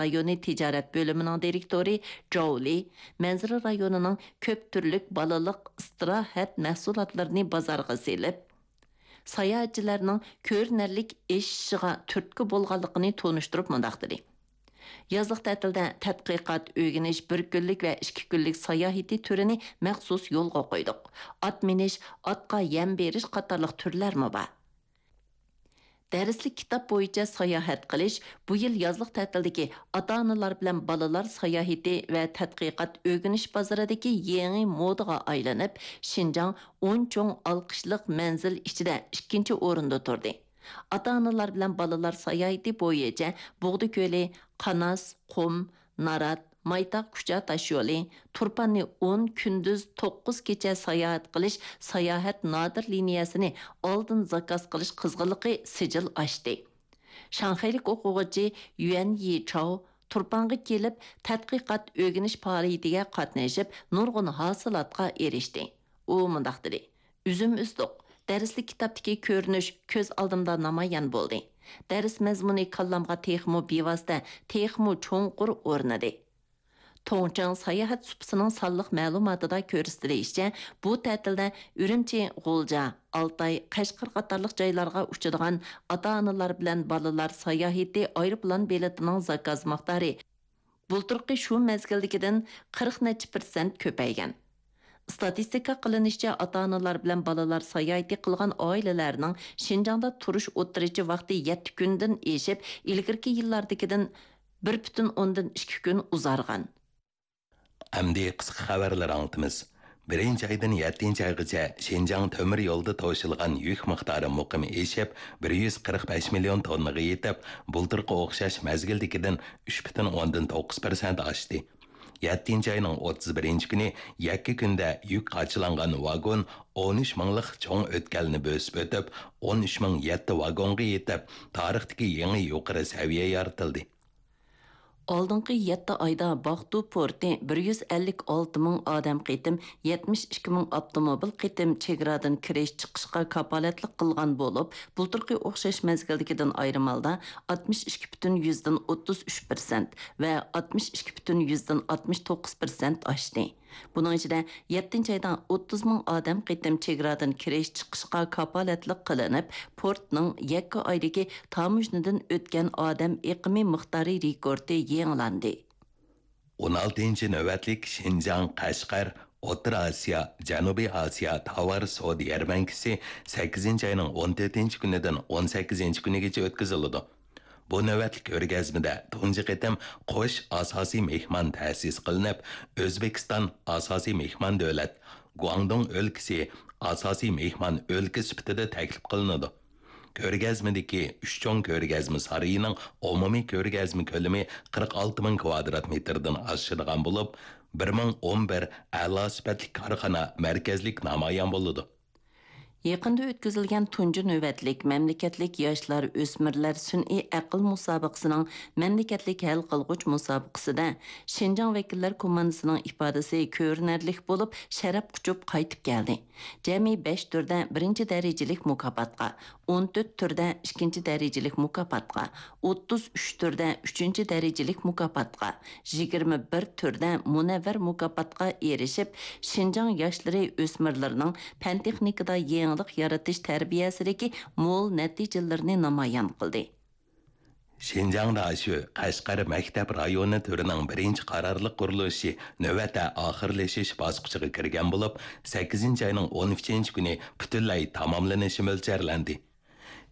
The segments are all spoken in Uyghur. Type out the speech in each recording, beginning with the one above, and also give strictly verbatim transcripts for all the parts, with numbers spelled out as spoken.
رايونى تىجارەت بۆلۈمىنىڭ دىرېكتورى جاۋ لى مەنزىرە رايونىنىڭ كۆپ تۈرلۈك بالىلىق ئىستىراھەت مەھسۇلاتلىرىنى بازارغا سېلىپ، ساياھەتچىلەرنىڭ كۆرۈنەرلىك ئېشىشىغا تۈرتكە بولغانلىقىنى تونۇشتۇرۇپ مۇنداق دېدى: يازلىق تەتىلدە تەتقىقات، ئۆگىنىش، بىر كۈنلۈك ۋە ئىككى كۈنلۈك ساياھىتى تۈرىنى مەخسۇس يولغا قويدۇق. ئات مىنىش، ئاتقا يەم بېرىش قاتارلىق تۈرلەرمۇ بار. دەرسلىك كىتاب بويىچە ساياھەت قىلىش بۇ يىل يازلىق تەتىلدىكى ئاتا-ئانىلار بىلەن بالىلار ساياھىتى ۋە تەتقىقات ئۆگىنىش بازىرىدىكى يېڭى مودىغا ئايلىنىپ، شىنجاڭ ئون چوڭ ئالقىشلىق مەنزىل ئىچىدە ئىككىنچى ئورۇندا تۇردى. ئاتا-ئانىلار بىلەن بالىلار ساياھىتى بويىچە بۇغدا كۆلى، قاناس، قۇم، نارات، مايتاغ كۇچا تاشيولى، تۇرپاننى ئون كۈندۈز توققۇز كېچە ساياھەت قىلىش ساياھەت نادىر لىنىيەسىنى ئالدىن زاكاز قىلىش قىزغىنلىقى سىجىل ئاشتى. شاڭخەيلىك ئوقۇغۇچى يۈەن يىچاۋ تۇرپانغا كېلىپ، تەتقىقات ئۆگىنىش پائالىيىتىگە قاتنىشىپ، نۇرغۇن ھاسىلاتقا ئېرىشتى. ئۇ مۇنداق دېدى: ئۈزۈم ئۈزدۇق. دەرسلىك كىتابتىكى كۆرۈنۈش كۆز ئالدىمدا نامايان بولدى. دەرس مەزمۇنى كاللامغا تېخىمۇ بىۋاسىتە، تېخىمۇ چوڭقۇر ئورنىدى. توڭچىڭ ساياھەت سۇپىسىنىڭ سانلىق مەلۇماتىدا كۆرسىتىلىشىچە، بۇ تەتىلدە ئۈرۈمچى، غۇلجا، ئالتاي، قەشقەر قاتارلىق جايلارغا ئۇچىدىغان ئاتا-ئانىلار بىلەن بالىلار ساياھىتى ئايروپىلان بېلىتىنىڭ زاكاز مىقدارى بۇلتۇرقى شۇ مەزگىلدىكىدىن قىرىق نەچچە پىرسەنت كۆپەيگەن. ئىستاتىستىكا قىلىنىشىچە، ئاتا-ئانىلار بىلەن بالىلار ساياھىتى قىلغان ئائىلىلەرنىڭ شىنجاڭدا تۇرۇش ئوتتۇرىچە ۋاقتى يەتتە كۈندىن ئېشىپ، ئىلگىرىكى يىللاردىكىدىن بىر پۈتۈن ئوندىن ئىككى كۈن ئۇزارغان. ئەمدى قىسقا خەۋەرلەر ئاڭلىتىمىز. بىرىنچى ئايدىن يەتتىنچى ئايغىچە شىنجاڭ تۆمۈر يولىدا توشۇلغان يۈك مىقدارى مۇقىم ئېشىپ، بىر يۈز قىرىق بەش مىليون توننىغا يېتىپ، بۇلتۇرقى ئوخشاش مەزگىلدىكىدىن ئۈچ پۈتۈن ئوندىن توققۇز پىرسەنت ئاشتى. يەتتىنچى ئاينىڭ ئوتتۇز بىرىنچى كۈنى يەككە كۈندە يۈك قاچىلانغان ۋاگون ئون ئۈچ مىڭلىق چوڭ ئۆتكەلنى بۆسۈپ ئۆتۈپ، ئون ئۈچ مىڭ يەتتە ۋاگونغا يېتىپ، تارىختىكى يېڭى يۇقىرى سەۋىيە يارىتىلدى. ئالدىنقى يەتتە ئايدا باقتۇ پورتى بىر يۈز ئەللىك ئالتە مىڭ ئادەم قېتىم، يەتمىش ئىككى مىڭ ئاپتوموبىل قېتىم چېگرادىن كىرىش چىقىشقا كاپالەتلىك قىلغان بولۇپ، بۇلتۇرقى ئوخشاش مەزگىلدىكىدىن ئايرىم ھالدا ئاتمىش ئىككى پۈتۈن يۈزدىن ئوتتۇز ئۈچ پىرسەنت ۋە ئاتمىش ئىككى پۈتۈن يۈزدىن ئاتمىش توققۇز پىرسەنت ئاشتى. بۇنىڭ ئىچىدە يەتتىنچى ئايدا ئوتتۇز مىڭ ئادەم قېتىم چېگرادىن كىرىش چىقىشقا كاپالەتلىك قىلىنىپ، پورتنىڭ يەككە ئايدىكى تاموژنىدىن ئۆتكەن ئادەم ئېقىمى مىقدارى رېكورتى يېڭىلاندى. ئون ئالتىنچى نۆۋەتلىك شىنجاڭ، قەشقەر، ئوتتۇرا ئاسىيا، جەنۇبىي ئاسىيا تاۋار سودا يەرمەنكىسى سەككىزىنچى ئاينىڭ ئون تۆتىنچى كۈنىدىن ئون سەككىزىنچى كۈنىگىچە ئۆتكۈزۈلىدۇ. بۇ نۆۋەتلىك كۆرگەزمىدە تۇنجى قېتىم قوش ئاساسىي مېھمان تەسىس قىلىنىپ، ئۆزبېكىستان ئاساسىي مېھمان دۆلەت، گۇاڭدۇڭ ئۆلكىسى ئاساسىي مېھمان ئۆلكە سۈپىتىدە تەكلىپ قىلىنىدۇ. كۆرگەزمىدىكى ئۈچ چوڭ كۆرگەزمە سارىيىنىڭ ئومۇمىي كۆرگەزمە كۆلىمى قىرىق ئالتە مىڭ كۋادرات مېتىردىن ئاشىدىغان بولۇپ، بىر مىڭ ئون بىر ئەلا سۈپەتلىك كارخانا مەركەزلىك نامايان بولىدۇ. يېقىندا ئۆتكۈزۈلگەن تۇنجى نۆۋەتلىك مەملىكەتلىك ياشلار، ئۆسمۈرلەر سۈنئىي ئەقىل مۇسابىقىسىنىڭ مەملىكەتلىك ھەل قىلغۇچ مۇسابىقىسىدە شىنجاڭ ۋەكىللەر كوماندىسىنىڭ ئىپادىسى كۆرۈنەرلىك بولۇپ، شەرەپ قۇچۇپ قايتىپ كەلدى. جەمئىي بەش تۈردە بىرىنچى دەرىجىلىك مۇكاپاتقا، ئون تۆت تۈردە ئىككىنچى دەرىجىلىك مۇكاپاتقا، ئوتتۇز ئۈچ تۈردە ئۈچىنچى دەرىجىلىك مۇكاپاتقا، يىگىرمە بىر تۈردە مۇنەۋۋەر مۇكاپاتقا ئېرىشىپ، شىنجاڭ ياشلىرى، ئۆسمۈرلىرىنىڭ پەن-تېخنىكىدا يېڭىلىق يارىتىش تەربىيەسىدىكى مول نەتىجىلىرىنى نامايان قىلدى. شىنجاڭ داشۆ قەشقەر مەكتەپ رايونى تۈرىنىڭ بىرىنچى قارارلىق قۇرۇلۇشى نۆۋەتتە ئاخىرلىشىش باسقۇچىغا كىرگەن بولۇپ، سەككىزىنچى ئاينىڭ ئون ئۈچىنچى كۈنى پۈتۈنلەي تاماملىنىشى مۆلچەرلەندى.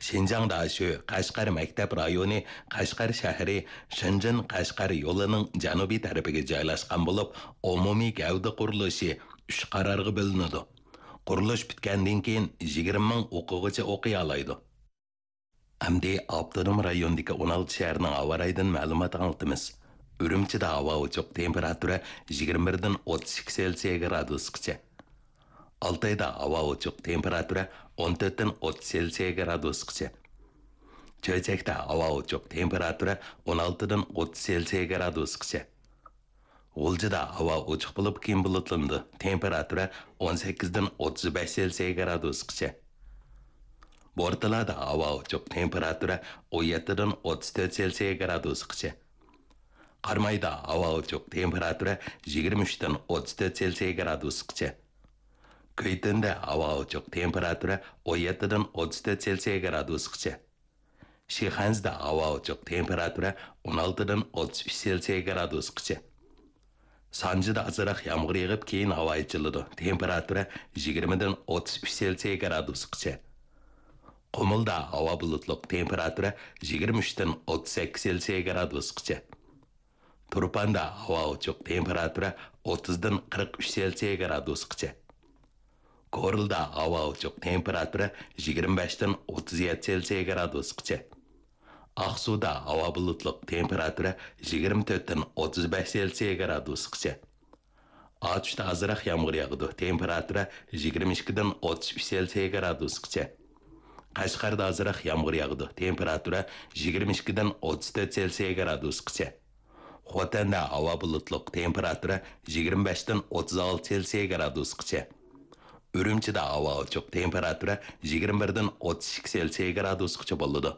شىنجاڭ داشۆ قەشقەر مەكتەپ رايونى قەشقەر شەھىرى شېنجېن قەشقەر يولىنىڭ جەنۇبىي تەرىپىگە جايلاشقان بولۇپ، ئومۇمىي گەۋدە قۇرۇلۇشى ئۈچ قارارغا بۆلۈنىدۇ. قۇرۇلۇش پۈتكەندىن كېيىن يىگىرمە مىڭ ئوقۇغۇچى ئوقۇيالايدۇ. ئەمدى ئاپتونوم رايوندىكى ئون ئالتە شەھەرنىڭ ھاۋا رايىدىن مەلۇمات ئاڭلىتىمىز. ئۈرۈمچىدە ھاۋا ئوچۇق، تېمپېراتۇرا يىگىرمە بىردىن ئوتتۇز ئىككى سېلسىيە گرادۇسقىچە. ئالتايدا ھاۋا ئوچۇق، تېمپېراتۇرا ئون تۆتتىن ئوتتۇز سېلسىيە گرادۇسقىچە. چۆچەكتە ھاۋا ئوچۇق، تېمپېراتۇرا ئون ئالتىدىن ئوتتۇز سېلسىيە گرادۇسقىچە. غۇلجىدا ھاۋا ئوچۇق بولۇپ، كېيىن بۇلۇتلىنىدۇ، تېمپېراتۇرا ئون سەككىزدىن ئوتتۇز بەش سېلسىيە گرادۇسقىچە. بورتالادا ھاۋا ئوچۇق، تېمپېراتۇرا ئون يەتتىدىن ئوتتۇز تۆت سېلسىيە گرادۇسقىچە. قارامايدا ھاۋا ئوچۇق، تېمپېراتۇرا يىگىرمە ئۈچتىن ئوتتۇز تۆت سېلسىيە گرادۇسقىچە. كۈيتۈندە ھاۋا ئوچۇق، تېمپېراتۇرا ئون يەتتىدىن ئوتتۇز تۆت سېلسىيە گرادۇسقىچە. شىخەنزىدە ھاۋا ئوچۇق، تېمپېراتۇرا ئون ئالتىدىن ئوتتۇز ئۈچ سېلسىيە گرادۇسقىچە. سانجىدا ئازراق يامغۇر يېغىپ، كېيىن ھاۋا ئېچىلىدۇ، تېمپېراتۇرا يىگىرمىدىن ئوتتۇز ئۈچ سېلسىيە گرادۇسقىچە. قۇمۇلدا ھاۋا بۇلۇتلۇق، تېمپېراتۇرا يىگىرمە ئۈچتىن ئوتتۇز سەككىز سېلسىيە گرادۇسقىچە. تۇرپاندا ھاۋا ئوچۇق، تېمپېراتۇرا ئوتتۇزدىن قىرىق ئۈچ سېلسىيە گرادۇسقىچە. كورلىدا ھاۋا ئوچۇق، تېمپېراتۇرا يىگىرمە بەشتىن ئوتتۇز يەتتە سېلسىيە گرادۇسقىچە. ئاقسۇدا ھاۋا بۇلۇتلۇق، تېمپېراتۇرا يىگىرمە تۆتتىن ئوتتۇز بەش سېلسىيە گرادۇسقىچە. ئاتۇشتا ئازراق يامغۇر ياغىدۇ، تېمپېراتۇرا يىگىرمە ئىككىدىن ئوتتۇز ئۈچ سېلسىيە گرادۇسقىچە. قەشقەردە ئازراق يامغۇر ياغىدۇ، تېمپېراتۇرا يىگىرمە ئىككىدىن ئوتتۇز تۆت سېلسىيە گرادۇسقىچە. خوتەندە ھاۋا بۇلۇتلۇق، تېمپېراتۇرا يىگىرمە بەشتىن ئوتتۇز ئالتە سېلسىيە گرادۇسقىچە. ئۈرۈمچىدە ھاۋا ئوچۇق، تېمپېراتۇرا يىگىرمە بىردىن ئوتتۇز ئىككى سېلسىيە گرادۇسقىچە بولىدۇ.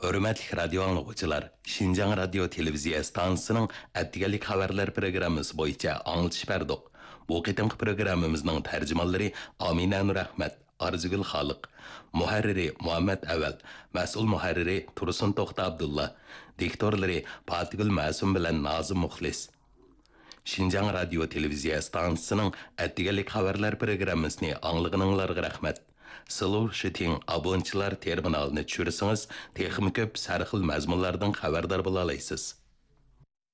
ھۆرمەتلىك رادىيو ئاڭلىغۇچىلار، شىنجاڭ رادىيو تېلېۋىزىيە ئىستانسىسىنىڭ ئەتىگەنلىك خەۋەرلەر پروگراممىسى بويىچە ئاڭلىتىش بەردۇق. بۇ قېتىمقى پروگراممىمىزنىڭ تەرجىمانلىرى ئامىنە نۇرئەخمەت، ئارزۇگۈل خالىق، مۇھەررىرى مۇھەممەت ئەۋەل، مەسئۇل مۇھەررىرى تۇرسۇن توختى ئابدۇللا، دىكتورلىرى پاتىگۈل مەسۇم بىلەن نازىم مۇخلىس. شىنجاڭ رادىيو تېلېۋىزىيە ئىستانسىسىنىڭ ئەتىگەنلىك خەۋەرلەر پروگراممىسىنى ئاڭلىغىنىڭلارغا رەھمەت. سلوشىتىڭ ئابونچىلار تېرمىنالىنى چۈشۈرسىڭىز، تېخىمۇ كۆپ سەرخىل مەزمۇنلاردىن خەۋەردار بولالايسىز.